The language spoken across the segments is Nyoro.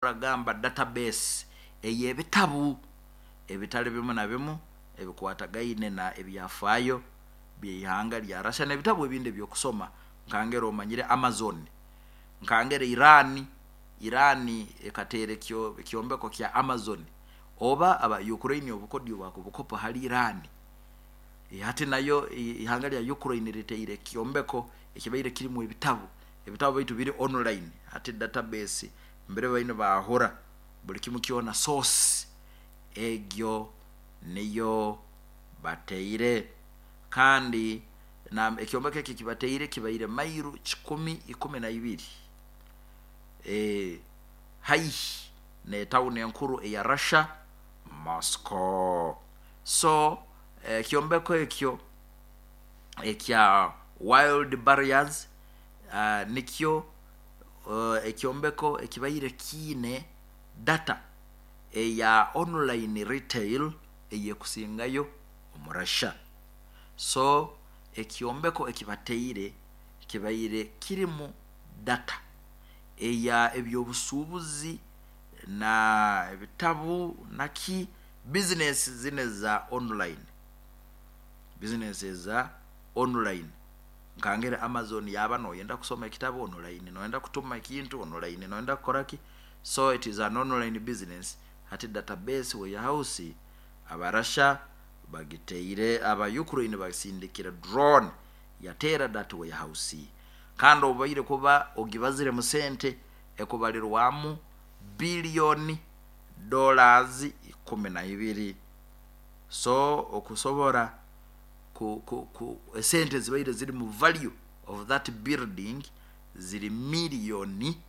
Gamba database ey'ebitabu ebitali bimu na bimu ebikwatagaine na ebyafaayo by'ihanga lya Russia n'ebitabu ebindi ebyokusoma. Nkangera omanyire Amazon, nkangera Iran ekateera ekyombeko kya Amazon, oba aba Ukraine obukodyo bakubukopa hali Iran. Hati nayo ihanga lya Ukraine riteire ekyombeko ekibaire kirimu ebitabu, ebitabu baitu biri online. Hati database mbere baine baahura buli kimu kyona, source egyo niyo bateire. Kandi na ekyombeko eki ekibateire kibaire mairu 112 haihi n'etawuni enkuru eya Russia, Moscow. So ekyombeko ekyo ekya Wild Barriers nikyo ekyombeko ekibaire kiine data eya online retail eyekusingayo omu Russia. So ekyombeko ekibateire kibaire kirimu data eya ebyobusuubuzi na ebitabu naki bizinesi zinu eza online, bizinesi eza online. Nkangere Amazon, yaba noyenda kusoma ekitabu online, noyenda kutuma ekintu online, noyenda kukora ki, so it is an online business. Hati database warehouse aba Russia bagiteire, aba Ukraine basindikire drone yateera that warehouse. Kandi obaire kuba ogibaziremu sente ekubalirwamu billion dollars 12. So okusobora ku, ku, ku esente zibaire ziri mu value of that building ziri miliyoni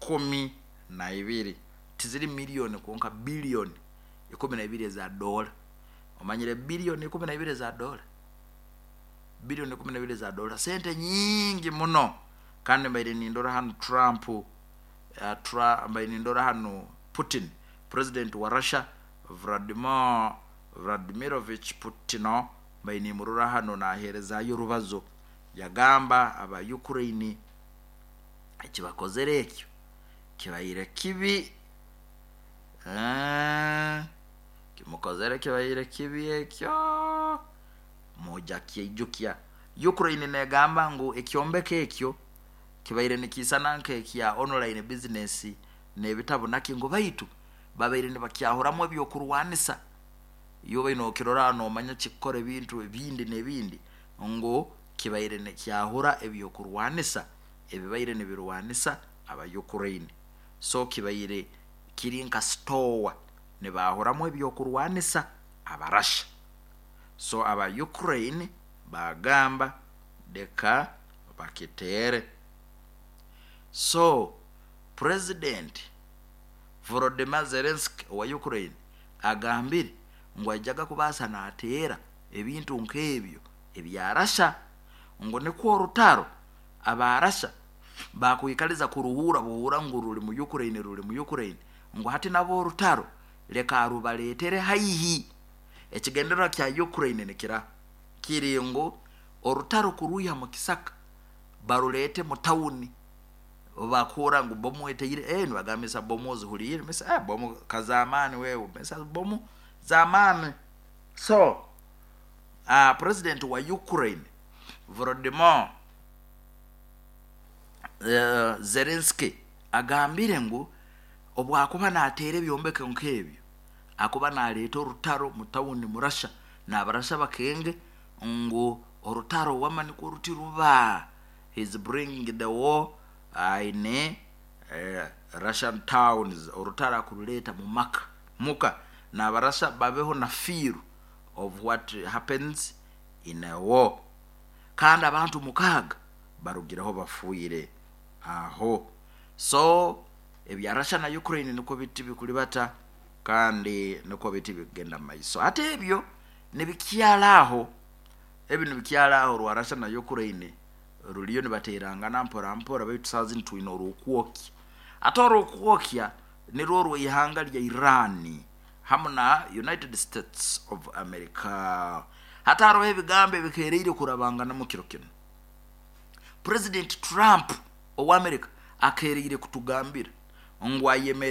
12, tiziri miliyoni kwonka, biliyoni 12 eza dola. Omanyire biliyoni 12 eza dola, biliyoni 12 eza dola sente nyingi muno. Kandi mbaire nindora hanu Trump, mbaire nindora hanu Putin, president wa Russia, Vladimir Vladimirovich Putino, mbaire nimurora hano naheerezayo orubazo, yagamba aba Ukraine ekibakozere ekyo kibaire kibi. Kimukozere kibaire kibi ekyo, muja kyeijukya. Ukraine negamba ngu ekyombeko ekyo kibaire nikiisana nk'ekya online business n'ebitabu naki, ngu baitu babaire nibakyahuramu ebyokurwanisa. Iwe obaire nokirora nomanya kikukora ebintu ebindi n'ebindi, ngu kibaire nikyahura ebyokurwanisa ebibaire nibirwanisa aba Ukraine. So kibaire kiri nka store nibahuramu ebyokurwanisa aba Russia. So aba Ukraine bagamba leka bakiteere. So President Volodymyr Zelensky owa Ukraine agambire ngu aijaga kubaasa nateera ebintu nk'ebyo ebya Russia, ngu nikwo orutaro aba Russia bakwikaliza kuruhuura buhuura ngu ruri mu Ukraine, ruri mu Ukraine, ngu hati nabo orutaro leka arubaleetere haihi. Ekigendererwa kya Ukraine nikira kiri ngu orutaro kurwiha mu kisaka baruleete mu tawuni. Bakuhurra ngu bomu eteire, nibagambisa bomu ozihuliire, misa bomu kazamaani wewe, misa bomu zamaani. So president wa Ukraine Volodymyr Zelensky agambire ngu obwakuba nateera ebyombeko nk'ebyo akuba naleeta orutaro mu tawuni mu Russia, n'Abarasha bakenge ngu orutaro wama nikwo ruti ruba. He is bringing the war in Russian towns, orutaro akuruleeta mu maka muka, n'Abarasha babeho na feel of what happens in a war. Kandi abantu 6 barugireho bafiire aho. So ebya Russia na Ukraine nikwo biti bikuribata kandi nikwo biti bikugenda mu maiso. Hati ebyo nibikyara aho, ebi nibikyara aho rwa Russia na Ukraine ruriyo nibateerangana mpora mpora, baitu saaha zinu twine orw'okwokya. Ate orw'okwokya nirwo orw'eihanga lya Iran hamu na United States of America. Hati haroho ebigambo ebikeereire kurabanganamu kiro kinu. President Trump owa America akeereire kutugambira Ngu ayemere.